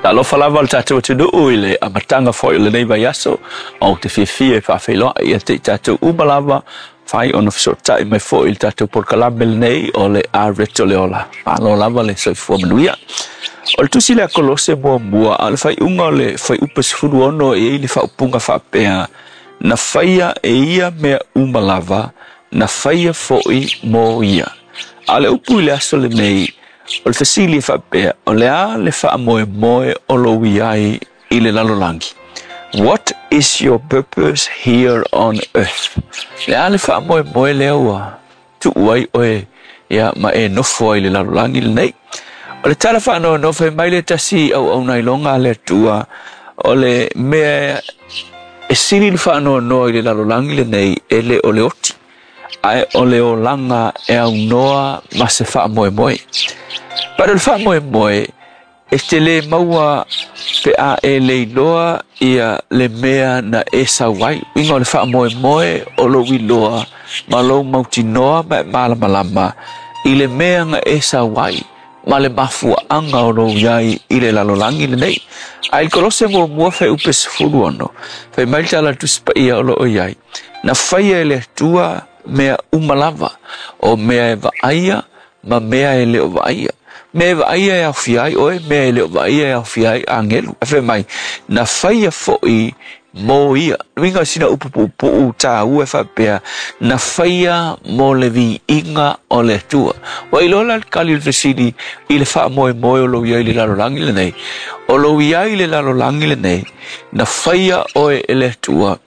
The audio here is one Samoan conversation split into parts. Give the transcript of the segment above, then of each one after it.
Talofa lava le tatou atunuu i le amataga foi o lenei vaiaso. Ou te fiafia e faafeiloai ia te i tatou uma lava fai ona fesootai mai foi i le tatou polokalame lenei o le Areto le Ola. Malo lava le soifua manuia. O le tusi lea Kolose muamua, a o le faaiuga o le fuaiupu 16 e i ai le faaupuga faapea, na faia e ia mea uma lava, na faia foi mo ia. A o le upu i le aso lenei, o le fesili e faapea, o le a le faamoemoe o lou i ai i le lalolagi? What is your purpose here on earth? Le a le faamoemoe lea ua tuu ai oe ia ma e nofo ai i le lalolagi lenei? O le tala faanoanoa fai mai le tasi auauna iloga a le Atua, o le mea e sili le faanoanoa i le lalolagi lenei e le o le oti, ae o le olaga e aunoa ma se faamoemoe. But o le faamoemoe e te lē maua pe a e le iloa ia le mea na e sau ai. Uiga o le faamoemoe o lou iloa ma lou mautinoa ma e malamalama i le mea na e sau ai ma le mafuaaga o lou iai i le lalolagi lenei. Ae i le Kolose muamua fuaiupu 16, fai mai le tala a le Tusi Paia o lo o i ai, na faia e le Atua mea uma lava, o mea e vaaia ma mea e le o vaaia. Mea e vaaia e aofia ai oe, mea e le o vaaia e aofia ai agelu. Ae fai mai, na faia foi mo ia. Uiga o sina upu puupuu tāua e faapea, na faia mo le viiga o le Atua. Ua iloa la le tali o le fesili i le faamoemoe o lou iai i le lalolagi lenei. O lou iai i le lalolagi lenei, na faia oe e le Atua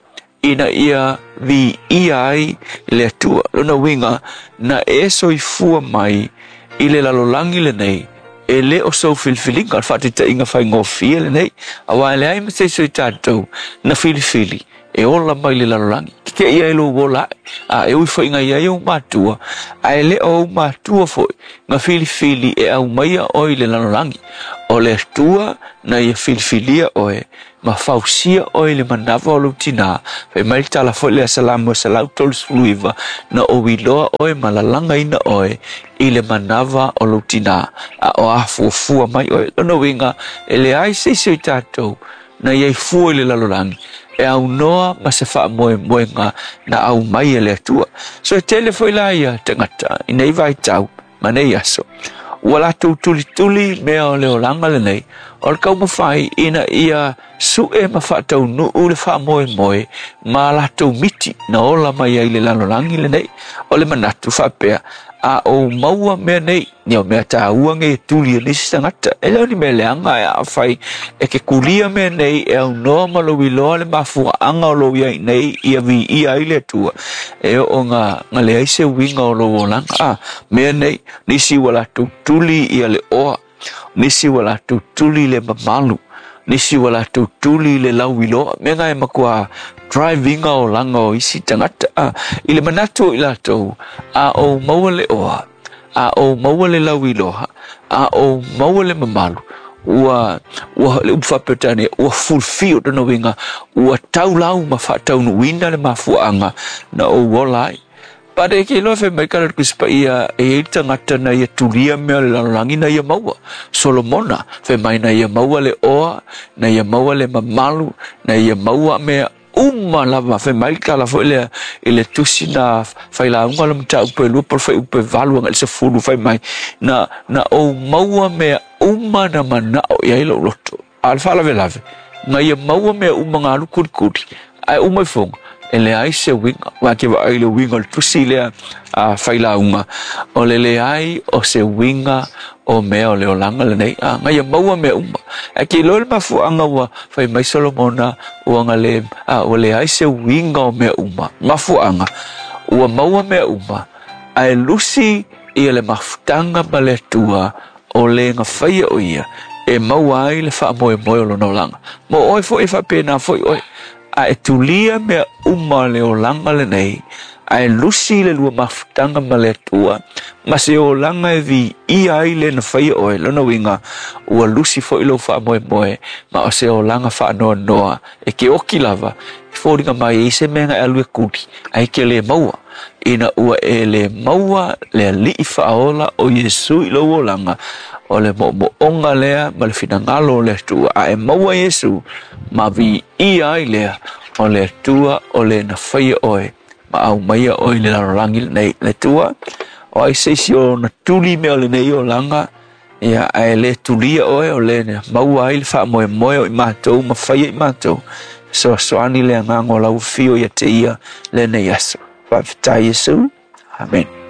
ina ia viia ai le Atua. Lona uiga, na e soifua mai i le lalolagi lenei, e le o sou filifiliga, o le faataitaiga faigofie lenei, aua e leai ma se isi o i tatou na filifili e ola mai le lalolagi. Tete'i ai lou ola ae, a e ui foi ina i ai ou matua, ae le o ou matua foi na filifili e aumaia oe i le lalolagi. O le Atua na ia filifilia oe ma fausia oe i le manava o lou tinā. Fai mai le tala foi lea Salamo 139, na ou iloa oe ma lalagaina oe i le manava o lou tinā, a o afuafua mai oe. Lona uiga, e leai se isi o i tatou na i ai fua i le lalolagi e aunoa ma se faamoemoega na aumai e le Atua. So e tele foi la ia tagata i nei vaitau ma nei aso, ua latou tulituli mea o le olaga lenei, o le taumafai ina ia suʻe ma faataunuu le faamoemoe ma a latou miti na ola mai ai i le lalolagi lenei. O le manatu faapea, a ou maua mea nei, ia o mea tāua nei e tuli e nisi tagata, e le o ni mea leaga ae afai e ke kulia mea nei e aunoa ma lou iloa le mafuaaga o lou iai nei ia viia ai le Atua, e oo na leai se uiga o lou olaga. A mea nei, nisi ua latou tuli ia le oa, nisi ua latou tuli le mamalu, nisi ua latou tuli le lauiloa, mea na e matua drive ina olaga o isi tagata. A i le manatu o i latou, a ou maua le oa, a ou maua le lauiloa, a ou maua le mamalu, ua ua le upu faa-Peretania, ua fulfill lona uiga, ua taulau ma faataunuuina le mafuaaga na ou ola ai. But e ke iloa fai mai ka le Tusi Paia e i ai le tagata na ia tulia mea o le lalolagi na ia maua. Solomona fai mai na ia maua le oa, na ia maua le mamalu, na ia maua mea uma lava. Fai mai le tala foi lea i le tusi na failauga o le mataupu e 2 po o le fuaiupu e 8 agai i le 10, fai mai na na ou maua mea uma na manao i ai lou loto. A o le faalavelave, na ia maua mea uma na alu kulikuli, ae uma ifoga, e leai se uiga. Aua ke vaai i le uiga o le tusi lea a failauga, o le leai o se uiga o mea o le olaga lenei, a na ia maua mea uma. Ae ke iloa le mafuaaga ua fai mai Solomona ua na le, a ua leai se uiga o mea uma. Mafuaaga, ua maua mea uma, ae lusi ia le mafutaga ma le Atua o le na faia o ia e maua ai le faamoemoe o lona olaga. Mo oe foi e faapena foi oe, a e tulia mea uma o le olaga lenei, ae lusi le lua mafutaga ma le Atua, ma se olaga e viia ai le na faia oe, lona uiga, ua lusi foi lou faamoemoe, ma o se olaga faanoanoa e ke oki lava, e foliga mai e i ai se mea na e alu e kuli, ae ke le maua. Ina ua e le maua le Alii Faaola o Iesu i lou olaga, O le moomooga lea ma le finagalo o le Atua. A e maua Iesu ma viia ai lea o le Atua o le na faia oe ma aumaia oe i le lalolagi lenei. Le Atua, o ai se isi o na tuli mea o lenei olaga, ia ae le tulia oe o le na maua ai le faamoemoe o i matou ma faia i matou. Fesoasoani le agaga o lau afio ia te ia lenei aso. Faafetai Iesu. Amen.